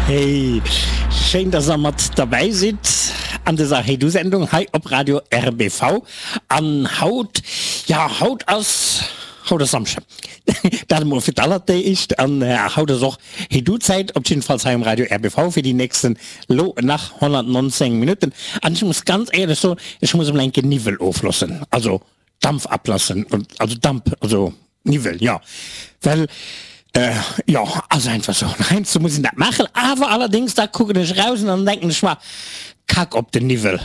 Hey, schéin dass der mat derbäi sidd an dëser Hey Du Sendung hei op Radio RBV. An haut, ja haut ass, haut ass Samschden, dat emol fir d'allertéischt. An haut ass och Hey Du Zäit, op jiddefalls hei um Radio RBV fir déi nächsten lo nach 119 Minutten. An ech muss ganz éierlech soen, ech muss emol enke Niwwel oflossen, also Dampf ablassen, also Damp, also Niwwel, jo, well jo, ass einfach sou, heiansdo muss een dat maachen. Awer allerdéngs, da kucken ech eraus an dann denken ech mer, Kack op den Niwwel.